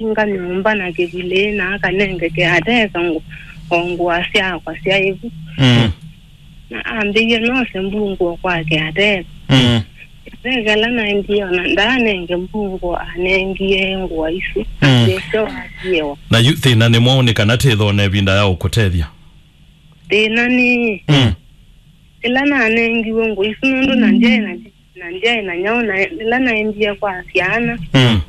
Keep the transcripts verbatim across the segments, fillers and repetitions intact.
asinga nyũmba na kĩvulĩ na akanenge kĩateka ngũ-, o ngũa syakwa syaĩ vu. Mm. Na ambĩie nose mbungũo kwa kĩateka. Mm. Kĩateka ĩla naendie ona ndaanenge mbungũo, anengie ngũa isu. Mm. Yesyo wathiewa. Na yu thĩna nĩ mwaũ nĩ kana tĩthone ĩvinda ya ũkũtethya? Thĩna nĩ Mm. ĩla nanengiwe ngũa isu nũndũ na ndyaĩ na, na ndyaĩ na nyaũ na ĩla naendie kwa syana. Mm.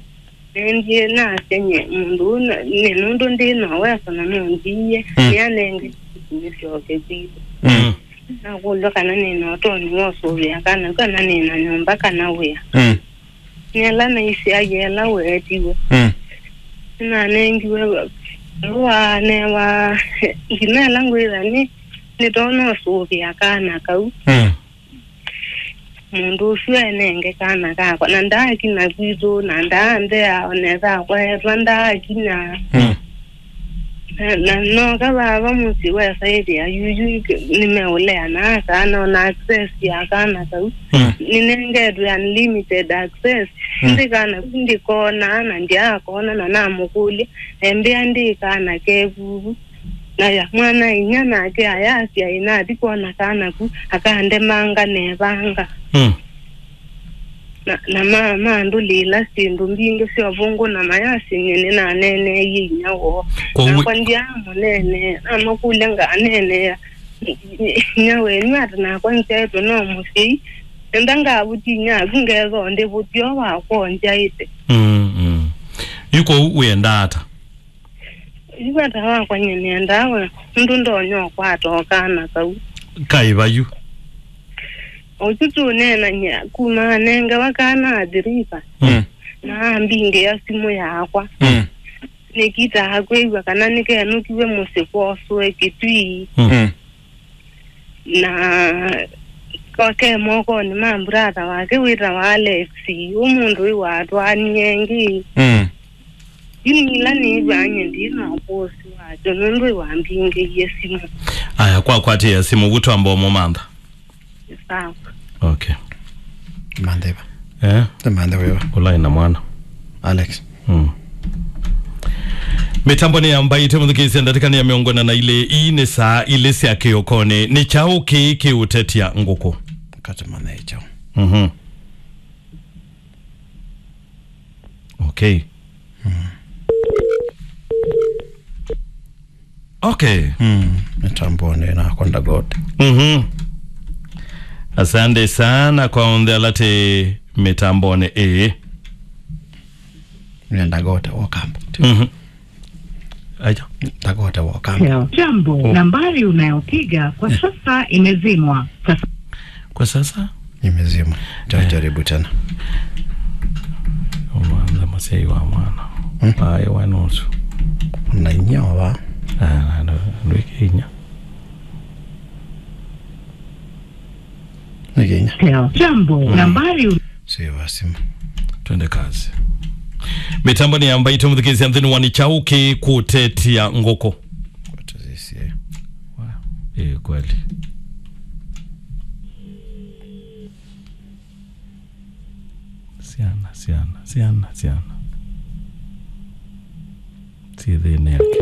Naendie nasya nye mũndũ ũũ na, nĩ nũndũ ndĩ na ũweso na nũndiie, Mm. nĩanenge nĩsyoke kwitũ. Mm. Nakũlw'a kana nĩ na ũtonyi wa ũsũvĩa kana, kana nĩ na nyũmba kana wĩa. Mm. Nĩ ala naisyaie ala weetiwe. Mm. Nĩnanengiwe valũa newa nginya ĩla ngwĩtha nĩ, nĩtonya ũsũvĩa kana kau. Mm. Mũndũ ũsu enenge kana kakwa, na ndaakina kwitũ, na ndaanthea, o nesa akwaetwa ndaakina. Mm. Na, na noka vava mũsyĩ wesa ĩthĩa yuyu nĩmeũlea na akana, ona access ya kana kau. Mm. Nĩnengetwe unlimited access. Mm. Ndi kana kau ndikona, na ndyaakona, na namũkũlya, embĩa ndi kana kevuvu. Na ya mwana inya nake ayasya ĩnathi kwona kana ku akandemanga nevanga. Mm. Na, na ma, mandũlĩĩla syĩndũ mbingĩ sya ũvũngũ na mayasya nyie nĩnaneeneeie inya woo. Kwoou nakwa ndyaamũneenea, namakũlya nganeenea inya wenyu ata nakwa nzyaĩtwe no mũsyai. Enda ngavũti inya aku ngethwa ndĩvũti o wakwa ũnzyaĩte. Mm, mm. Yu kwoou wĩendaa ata? Yu ata wakwa nyie nĩendaa we, nũndũ ndonya ũkwata o kana kau. Kaĩ va yu? Ũsu tũneenany'a kuma anengewa kana athiriva. Mm. Na ambingĩa simũ yakwa. Mm. Nĩkitaa kwĩw'a kana nĩkenũkiw'e mũsyĩ kwoswe Kĩtui. Mm. Mm. Na ke mokonĩ ma mburatha wake wĩtawa Alex, ũmũnthĩ ũyũ watwaanie ĩngĩ. Mm. Yu nĩ ĩla nĩĩw'aa nyie ndĩ na ũkũsĩ wakyo nũndũ wambingĩie simũ. Aya, kwakwatĩĩa simũ vu twamba ũmũmantha. Sawa. Okay. Mantha ĩva? Eh? Mantha ĩva? Ũla ĩna mwana. Alex. Mm. Mĩtambo nĩ yambaĩte mũthikĩĩsya ndatĩka nĩ ya mĩongo ĩna na ilĩ. Ii nĩ saa ilĩ sya kĩokonĩ. Nĩ kyaũ kĩĩ kĩũtetya ngũkũ? Katĩ mantha ĩ kyaũ? Mhm. Okay. Mm. Okay. Mm, mĩtambonĩ nakwa Ndagote. Mhm. Asante sana kwa onthe ala tĩ mĩtambonĩ ĩĩ. Nĩ Ndagote wa Kambo. Mhm. Aja. Ndagote wa Kambo. Jambo, Oh. nambari unayopiga kwa sasa imezimwa. Sasa Kwa sasa? Imezimwa. Eh. Jaribu tena. Omwana, mũsyai wa mwana. Hmm? Aĩ wa nusu. Na inya wa? Ah, ndo, ndwĩke inya. Nĩ Kenya. Jambo, Mm. nambari u- Sio wa simu. Twende kazi. Mĩtambo nĩ yambaĩte mũthikĩĩsya nthĩnĩ wa nĩ kyaũ kĩĩ kũtetya ngũkũ? Kũtetya. Wow. Eh, kweli. Syana, syana, syana, syana. Syĩ thĩnĩ yake.